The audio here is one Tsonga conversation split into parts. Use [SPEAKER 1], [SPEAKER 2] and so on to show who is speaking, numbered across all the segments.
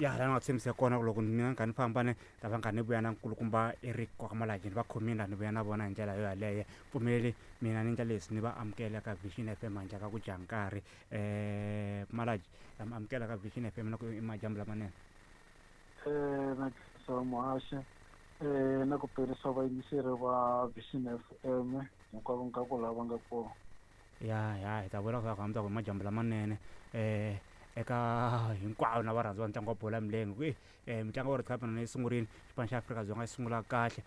[SPEAKER 1] Ya laha ni nga tshembisa kona ku loko mina ni kha ni famba ni ta va ni kha ni vuya na nkulukumba Eric Kwakamalaji ni va khomile la ni vuya na vona hi ndlela yo yaleyo. Pfumeleli mina ni endla leswi ni va amukela ka Vision FM handle ka ku dya nkarhi. Malaji ha mi amukela ka Vision FM na ku i madyambu lamanene.
[SPEAKER 2] Na khensa muhaxi na ku perisa vayingiseri va Vision FM hinkwavo ka ku lava nga kona.
[SPEAKER 1] Ya ya hi ta vula ku hambi ku i madyambu lamanene eka hinkwavo na varhandzi va ntlangu wa bolo ya milenge ku mitlangu ya World Cup na yi sungurile xipano xa Afrika-Dzonga xi sungula kahle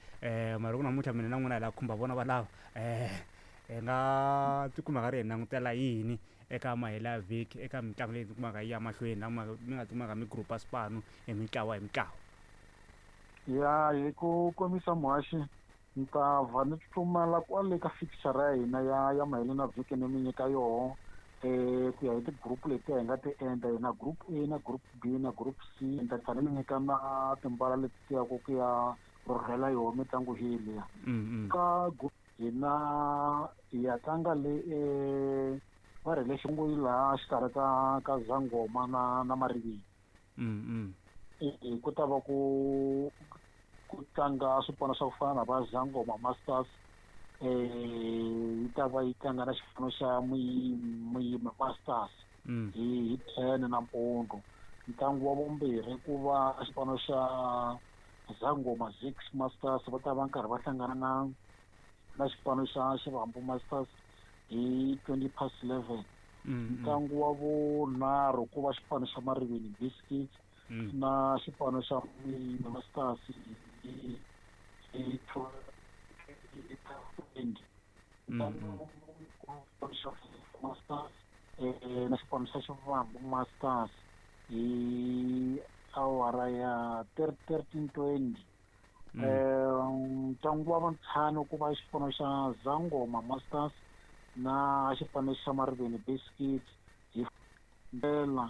[SPEAKER 1] mara loko namuntlha mina na n'wina hi lava ku khumba vona valava hi nga tikuma hi karhi hi langutela yini eka mahelo ya vhiki eka mitlangu leyi tikumaka yi ya mahlweni la mi nga tikumaka mi group-a swipano hi mintlawa hi mintlawa.
[SPEAKER 2] Ya hi ku komisa muhaxi Ni ta vha ni tsutsumela kwale ka fixture ya hina ya ya maheleni ya vhiki ni mi nyika yoho ku ya hi ti-group letiya hi nga ti endla hi na group A na group B na group C ni ta tlhela ni nyika na timbala leti ti yaku ku ya rhurhela yoho mitlangu hi liya ka group hina hi ya tlanga le va ri hi le xinguyi laha xikarhi ka ka Zangoma na na Mariveni. Ku ta va ku ku tlanga swipano swa ku fana na va Zangoma Masters yi ta va yi tlanga na xipano xa Muyima Masters hi hi 10 nampundzu. Ntlangu wa vumbirhi ku va xipano xa Zangoma Zix Masters va ta va karhi va hlangana na na xipano xa Xivambu Masters hi 11:20. Ntlangu wa vunharhu ku va xipano xa Mariveni Biscuits na xipano xa Muyima Masters hi hi 20. Ntlangu xa Masters na xipano xa Xivambu Masters hi awara ya 13:20. Ntlangu wa vuntlhanu ku va xipano xa Zangoma Masters na xipano xa Mariveni Biscuits hi ndlela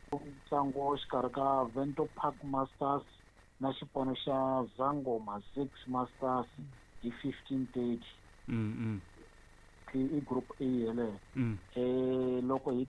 [SPEAKER 2] ntlangu xikarhi ka Vento Park Masters na xipano xa Zangoma Six Masters hi 15:30. I group A yeleyo. Loko hi.